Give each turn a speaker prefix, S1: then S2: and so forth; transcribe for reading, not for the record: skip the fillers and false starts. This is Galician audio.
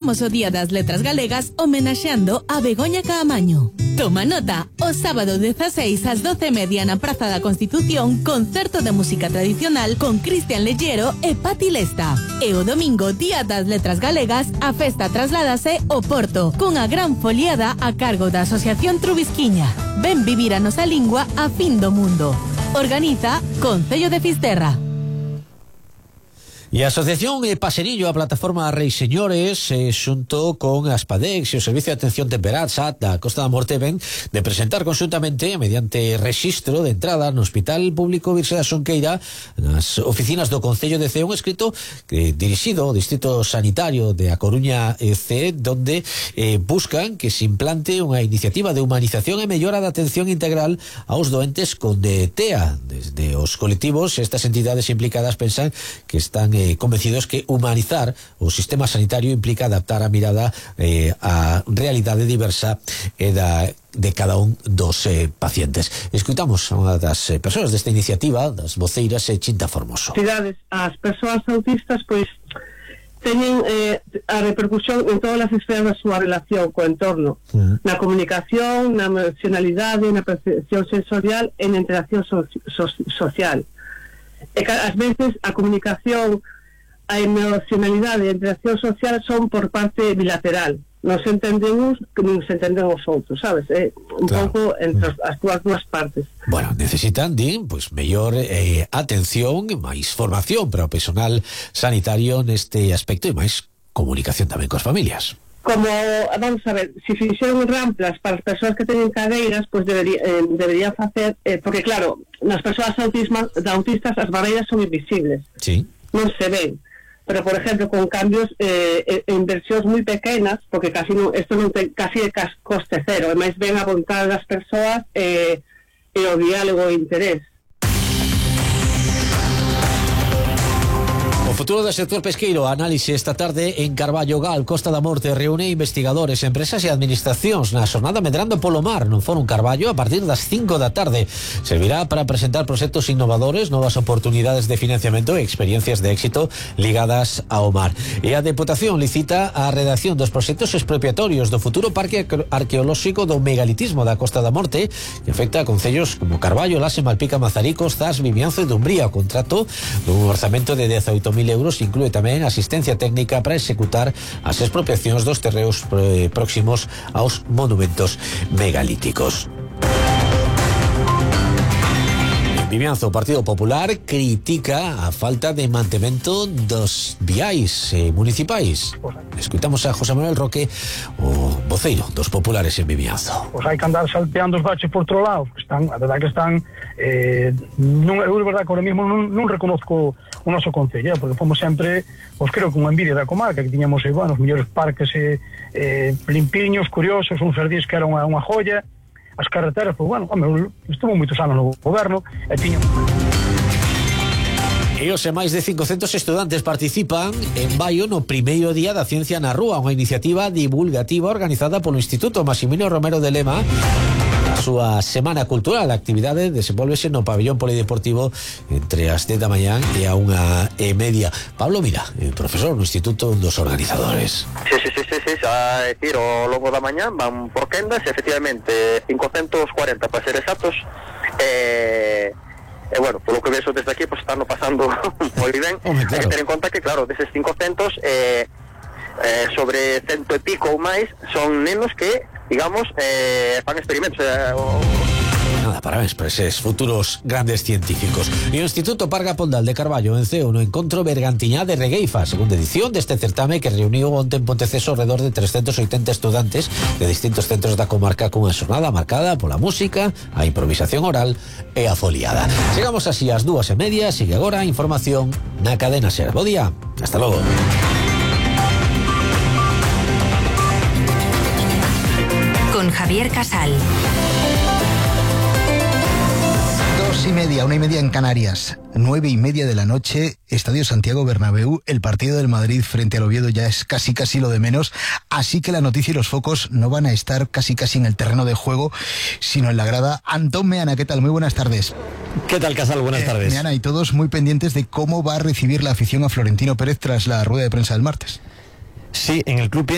S1: O Día das Letras Galegas homenaxeando a Begoña Caamaño. Toma nota, o sábado 16 ás 12:30 na Praza da Constitución, concerto de música tradicional con Cristian Lellero e Pati Lesta. E o domingo, Día das Letras Galegas, a festa trasládase ao Porto, cunha gran foliada a cargo da Asociación Trubisquiña. Ven vivir a nosa lingua a fin do mundo. Organiza Concello de Fisterra.
S2: E a Asociación Paserillo, a plataforma Reis Señores, xunto con Aspadex e o Servicio de Atención Temperá SAT da Costa da Morte, ven de presentar conxuntamente, mediante rexistro de entrada no Hospital Público Virxe da Xunqueira, nas oficinas do Concello de Cee, un escrito dirixido ao Distrito Sanitario de A Coruña Cee, donde buscan que se implante unha iniciativa de humanización e mellora da atención integral aos doentes con TEA. Desde os colectivos, estas entidades implicadas pensan que están convencidos que humanizar o sistema sanitario implica adaptar a mirada á realidade diversa de cada un dos pacientes. Escutamos a unha das persoas desta iniciativa, das voceiras, Chinta Formoso.
S3: As persoas autistas pois teñen a repercusión en todas as esferas da súa relación co entorno, na comunicación, na emocionalidade, na percepción sensorial e na interacción social. E ás veces a comunicación, a emocionalidade e a interacción social son por parte bilateral. Non se entenden uns que non se entenden os outros, sabes? Un pouco entre as dúas partes.
S2: Bueno, necesitan, pois, mellor atención, máis formación para o personal sanitario neste aspecto e máis comunicación tamén coas familias.
S3: Como, vamos a ver, se fixeron ramplas para as persoas que teñen cadeiras, pois deberían facer, porque claro, nas persoas autistas as barreiras son invisibles,
S2: sí,
S3: non se ven, pero por exemplo con cambios en versións moi pequenas, porque isto non ten casi coste cero, e máis ven a vontade das persoas e o diálogo e interés.
S2: O futuro do sector pesqueiro, análise esta tarde en Carballo Gal, Costa da Morte, reúne investigadores, empresas e administracións na xornada Medrando polo Mar no Fórum Carballo a partir das 5 da tarde. Servirá para presentar proxectos innovadores, novas oportunidades de financiamento e experiencias de éxito ligadas ao mar. E a Deputación licita a redacción dos proxectos expropiatorios do futuro Parque Arqueolóxico do Megalitismo da Costa da Morte, que afecta a concellos como Carballo, Lase, Malpica, Mazaricos, Zas, Vimianzo e Dumbría. O contrato dun orzamento de 18.000 euros inclúe tamén asistencia técnica para executar as expropiacións dos terreos próximos aos monumentos megalíticos. Vimianzo, o Partido Popular critica a falta de mantemento dos viais municipais. Escutamos a José Manuel Roque, o voceiro dos populares en Vimianzo.
S4: Pois hai que andar salteando os baches por outro lado, a verdade que están eu é verdade que ahora mismo non reconozco o noso concello, porque fomos sempre, pois creo que unha envidia da comarca, que tiñamos os mellores parques limpiños, curiosos, un jardín que era unha joya. As carreteras, pois estuvo moitos anos no goberno e tiñamos...
S2: E hoxe máis de 500 estudantes participan en Baio no primeiro día da Ciencia na Rúa, unha iniciativa divulgativa organizada polo Instituto Maximino Romero de Lema. A súa Semana Cultural, a actividade desenvolvese no pabellón polideportivo entre as 10 da mañán e a 1:30. Pablo Mira, profesor no Instituto, un dos organizadores.
S5: Sí, a decir, ao longo da mañán van por quendas, efectivamente 540 para ser exactos, bueno, polo que vexo desde aquí, pues están pasando moi ben. Claro. Hai que ter en conta que, claro, deses 500 sobre 100 e pico ou máis son nenos que, digamos, fan experimentos.
S2: Nada, parabéns para eses futuros grandes científicos. E o Instituto Parga Pondal de Carballo venceu no encontro Bergantiñá de Regueifa, segunda edición deste certame que reuniu onte en Ponteceso alrededor de 380 estudantes de distintos centros da comarca cunha xornada marcada pola música, a improvisación oral e a foliada. Chegamos así ás 2:30, sigue agora a información na cadena SER. Bo día, hasta logo.
S6: Con Javier Casal.
S7: 2:30, 1:30 en Canarias, 9:30 de la noche, Estadio Santiago Bernabéu. El partido del Madrid frente al Oviedo ya es casi lo de menos, así que la noticia y los focos no van a estar casi en el terreno de juego, sino en la grada. Antón Meana, ¿qué tal? Muy buenas tardes.
S8: ¿Qué tal, Casal? Buenas tardes.
S7: Meana, y todos muy pendientes de cómo va a recibir la afición a Florentino Pérez tras la rueda de prensa del martes.
S8: Sí, en el club